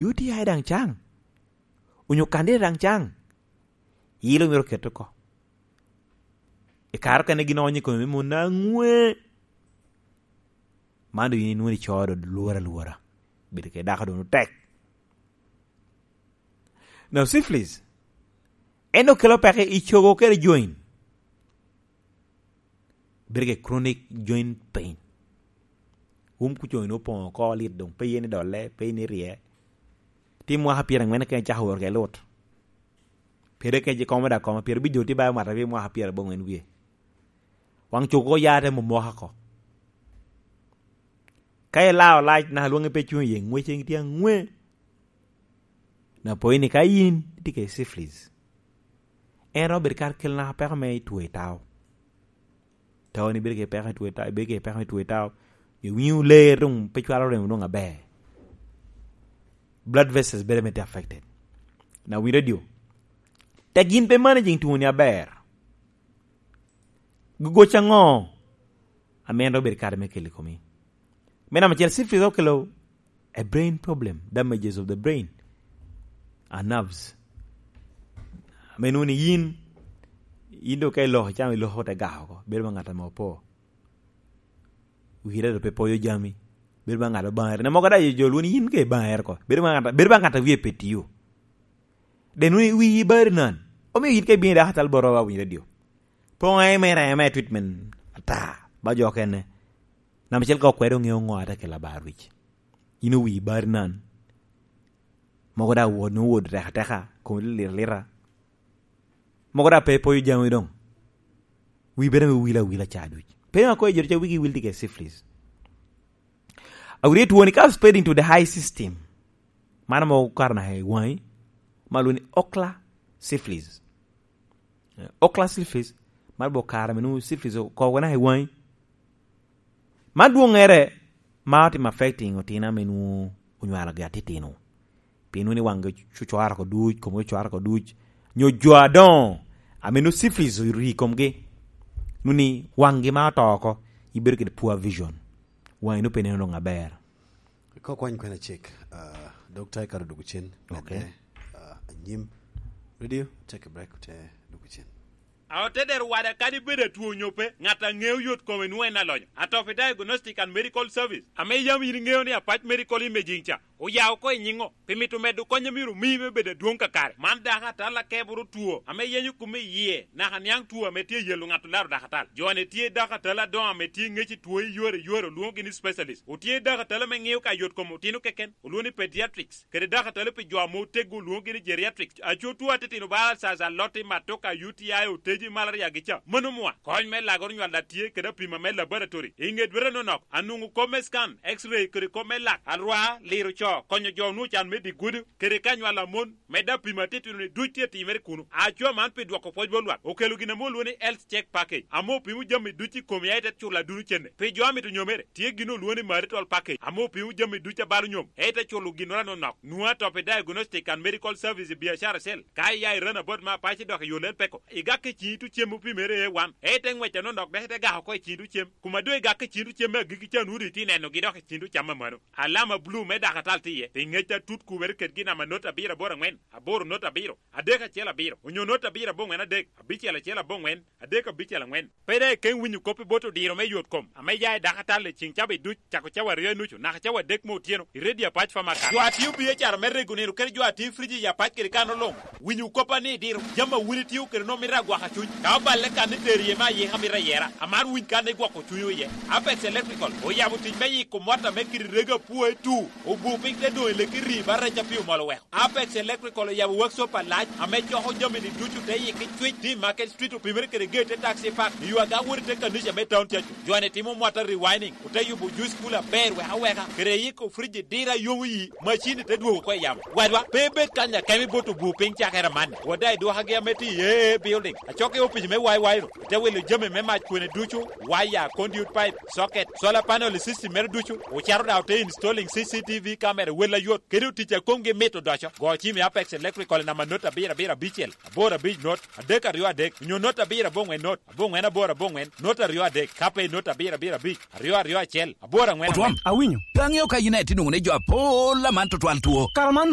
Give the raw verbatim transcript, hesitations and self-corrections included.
U T I daŋ caŋ, onyo kandida daŋ caŋ, ilo myero ket oko. I kare okene gin onyo i kome me mon aŋwe. Man doŋ yin inwoŋo ico doŋ lworo alwora. Bedo kede dako doŋ otek. Now, syphilis, en okelo peke i cogo kede joint. Bedo kede chronic joint pain. Wun kuc onyo opoŋ oko lit doŋ, pe yen idolle, pe yen irye. Ti mwaka pyerangwen kene cako wot kede lut. Pire kec ikomo dok koma, pire bijo ti ba mwata pi mwaka pyerabongwen wie. Waŋ cogo ya te momoko oko. Ka ilao lac naka lwoŋe pe cuŋ iye, ŋwece tye aŋwe. Na pwony ni ka yin itye kede syphilis, en romo bedo kara kel naka peko me two i tao. Tao ni bedo kede peko me two i tao, ibedo kede peko me two i tao, iwinyo ler doŋ pe cwalo remo doŋ aber. Blood vessels bedo me tye affected. Na win radio, tek yin pe managing two ni aber. Gogoc aŋo ame en rik obedo kare me kelo i komi? Me namba acel, syphilis okelo a brain problem, damages of the brain and nerves. Ame nwoŋo ni yin, yin doŋ ka iloko, icamo iloko te gako oko, bedo ma ŋat ame opo. Wire doŋ pe poyo jami, bedo ma ŋat obaŋere. Na mogo daŋ jo lwoni yin ka ibaŋere oko, bedo ma ŋat, bedo ma ŋat a wie pe tio. Den wun wi bari nan. Omio yin ka ibino i dakatal bot roba winy radio. Poŋ eme reme treatment ata. Ba jo okene. Namba acel ka okwedo ŋeo ŋo ata kela bar wic. Yin owi bari nan. Mogo da wod no wod teka teka. Kom lira lira. Mogo da pe poyo jami dong. Wi bere me wila wila ca duc. Pe ma koy jori ca wigi wil dige syphilis. Awiri tuwoni ka spreading to the high system. Mano mo karo naka i waŋi, ma lwongo ni ocular syphilis. Eh, ocular syphilis, mano bo karo ame nwoŋo syphilis okobo naka i waŋi. Man dwoŋŋere ma otimo affecting otino ame nwoŋo onywalogi atitino. Pien nwoŋo ni waŋgi ocwaro oko duc, komgi ocwaro oko duc. Nyo jo adoŋo ame nwoŋo syphilis ori i komgi. Nwoŋo ni waŋgi ma oto oko, ibedo kede poor vision. Waŋi nwoŋo pe neno doŋ aber. Ka okwany kwena cek, ah, Dokta Ikato dwogo cen. Ok. Medde, ah, anyim. Radio, take a break, te dwogo cen. A ote dero wada kadi bedo atwo onyo pe, ŋat a ŋeo yot kome nwoŋo en alonyo. Atopi Diagnostic and Medical Service, ame yam yin iŋeo ni Apac Medical Imaging ca, oya oko i nyiŋo, pi mito medo kony a myero omi me bedo adwoŋ kakare. Man dako atal akeboro two, ame yenyo kome i yie, naka niaŋ two ame tye yelo ŋat olaro dako atal. Jo-ni tye dako atal adoŋo ame tye ŋec i two i yore i yore, olwoŋogi ni specialist. Otye dako atal ame ŋeo ka yot kom otino keken, olwoŋo ni pediatrics, kede dako atal pi jo ame oteggo, olwoŋogi ni geriatrics. Aco two atitino bala caca, lotti, matoka, U T I, oteji, malaria gi ca. Mano mwa, kony me lagoro nywal a tye kede apima me laboratory. I ŋe dwete nonok, anwoŋo kop me scan, X-ray, kede kop me lak, alwa, liro co, konyo jo onwoŋo can me dye gudo, kede ka nywal a mon, medde apima atitino-ni duc tye timere kuno. Aco man pi dwoko pwoc bot lwak, okelo gin ame olwoŋo ni health check package, ame opimo jami duc i komi, aye te culo aduno cene. Pi jo a mito nyomere, tye gin olwoŋo ni marital package, ame opimo jami duc a balo nyom, aye te culo ginnoro anonok. Nwoŋo Atopi Diagnostic and Medical Service i biacara cell. Ka iya i Runabout ma Apac idok i yo Lel Peko, igak i ciŋ itu cem opimere A one, aye te ŋwec anonok dok ite gako oko i ciŋ itu cem. Kuma doŋ igak i ciŋ itu cem me agikki ca, nwoŋo doŋ itye nenogi dok i ciŋ itu cam amano. Alama bulu me dako atal tye iye, pi ŋec atut kubere kedgi, namba not abiro aboro aŋwen, aboro not abiro, adek acel abiro, onyo not abiro aboŋwen adek, abicel acel aboŋwen, adek abicel aŋwen. Pe daŋ ikeŋ winyo kop i bot odiro me yot kom ame ya i dako atal i ciŋ cawa duc, cako cawa aryo i nucu naka cawa adek me otyeno, i redio Apac Pharmacy. Jo a tio biacara me rego nino kede jo a tio friji i Apac kede kan oloŋ, winyo kop a ni idiro. Jami a wun itio kede nwoŋo mito agwaka cuny. Ka oballe kan itero iye me ayika mito ayera, amaro winy kan igwoko cunywu iye. Apex Electrical oyabo tic me yiko mot ame kite rego apwoe tu, obu piny te doŋ i leki rii ba rec a pi omol oweko. Apex Electrical oyabo workshop alac ame coko jami-ni ducu te yikki cwic, tye i Market Street, opimere kede gate te taxi park, i yo aga wot i te kanica me town cacu. Jo-ni timo mota rewinding, ote yubo juice cooler aber wek aweka, kede yiko fridge dira yomo yi, macin-ni te dwogo oko i yamo. Wadwa, pe ibed kany akemo ibot obu piny cakere amanni. Wada i dwokagi ame tye i A A building, acok i opic me Y Y ru, ite wilo jami me mac kwene ducu, waya, conduit pipe, socket, solar panel i system mere ducu, ocato daŋ ote installing C C T V mere wel ayot, kede otic a komgi mit odoco. Go cim i Apex Electrical i namba not abiro abiro abicel, aboro abic not, adek aryo adek, onyo not abiro aboŋwen not, aboŋwen aboro aboŋwen, not aryo adek, ka pe i not abiro abiro abic, aryo aryo acel, aboro aŋwen Otwom, aŋwen. Awinyo. Pe aŋeo ka in aye tye nwoŋo ni jo apol aman tutwal two. Kara man